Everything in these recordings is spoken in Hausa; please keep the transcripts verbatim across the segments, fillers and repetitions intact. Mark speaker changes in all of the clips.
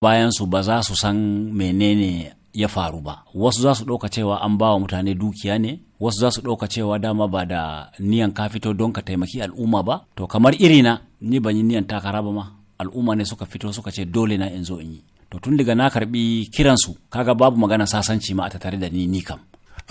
Speaker 1: Bayan su ba za su san menene ya faru ba. Wasu za su ɗauka cewa an ba wa mutane dukiya ne, wasu za su ɗauka cewa dama ba da niyan ka fito don ka taimaki al'umma ba. To kamar irina, ni ban yi niyan takara ba ma, al'umma ne suka fito suka ce dole na in zo in yi. To tun daga na karbi kiransu, kaga babu magana sasanci ma a tattare da ni ni kam.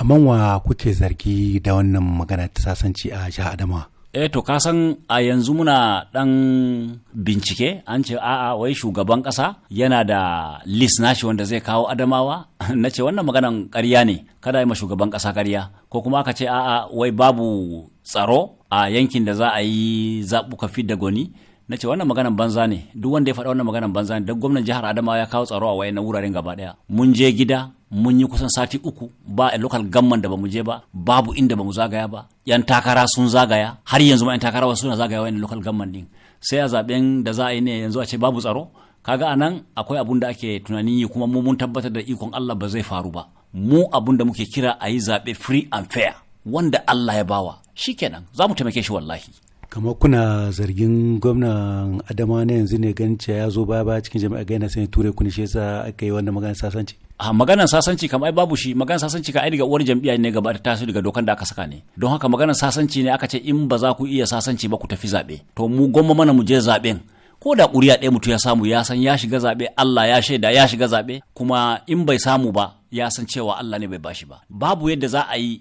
Speaker 2: Amma wa kuke zargi da wannan magana ta sasanci a jihar Adamawa?
Speaker 1: Eh, to ka san a yanzu muna dan bincike, an ce a'a, wai shugaban kasa yana da list nashi wanda zai kawo Adamawa. Na ce wannan maganan ƙarya ne, kada yi ma shugaban kasa ƙarya. Ko kuma aka ce a'a, wai babu tsaro a yankin da za a yi zaɓuka fidda goni. Na ce wannan maganan banza ne, duk wanda ya faɗa wannan maganan banza ne, don gwamnan jihar Adamawa ya kawo tsaro a wayannan wuraren gaba ɗaya. Mun je gida, mun yi kusan sati uku ba a local gamman da bamu je ba, babu inda bamu zagaya ba. Yan takara sun zagaya, har yanzu ma yan takara wasu suna zagaya wayannan local gamman din. Sai a zaben da za a yi ne yanzu a ce babu tsaro? Kaga anan akwai abun da ake tunanin yi, kuma mu mun tabbatar da ikon Allah ba zai faru ba. Mu abun da muke kira, a yi zaɓe free and fair, wanda Allah ya bawa shikenan, za mu taimake shi wallahi.
Speaker 2: Kamar kuna zargin gwamnan Adamawa na yanzu ne, ganin cewa ya zo baya baya cikin jami'a, ga yana son ya ture ku ne, shi yasa aka yi wannan maganar sasanci?
Speaker 1: A maganar sasanci kam ai babu shi. Maganar sasanci ka ai daga uwar jam'iyya ne gaba ta taso, daga dokan da aka saka ne. Don haka maganar sasanci ne aka ce in ba za ku iya sasanci ba, ku tafi zaɓe. To mu gwamma mana mu je zaɓen, ko da ƙuri'a ɗaya mutum ya samu, ya san ya shiga zaɓe, Allah ya shaida ya shiga zaɓe. Kuma in bai samu ba, ya san cewa Allah ne bai bashi ba. Babu yadda za a yi